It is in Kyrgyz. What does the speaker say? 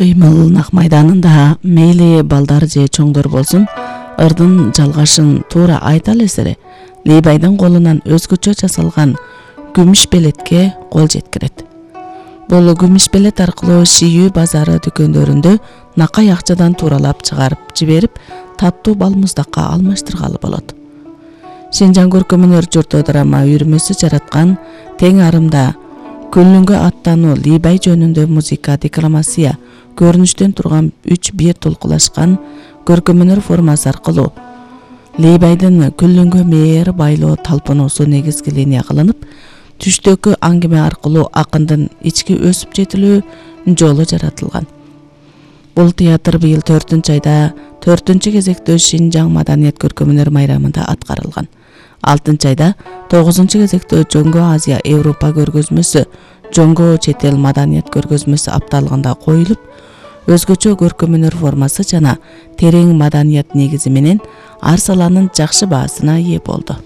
кыймыл нак майданында мейли балдар же чоңдор болсун, ырдын жалгашын туура айта элесире Лейбайдын колунан өзгөчө жасалган күмүш белетке кол жеткирет. Бул күмүш белет аркылуу Шиүү базары дүкөндөрүндө накай акчадан тууралап чыгарып жиберип, таттуу балмуздакка алмаштыргалы болот. Шинжаң көркөмөнөр журту драма үйүрмөсү жараткан тең арымда Күллүнгө аттануу Лейбай жөнүндө музыка, декламация, көрүнүштөн турган 3 бир толкулашкан көркөмөнөр формасы аркылуу Лейбайдын Күллүнгө мээр байлоо талпынуусу негизги линия кылынып, түштөгү аңгеме аркылуу акындын ички өсүп жетилүү жолу жаратылган. Бул театр быйыл 4-айда 4-кезектөө Шинжаң маданият көркөмөнөр майрамында аткарылган. 6-айда 9-кезектөө Жоңго Азия Европа көргөзмөсү, Жоңго чет эл маданият көргөзмөсү апталыгында коюлуп, өзгөчө көркөмөнөр формасы жана терең маданият негизи менен ар саланын жакшы баасына ээ болду.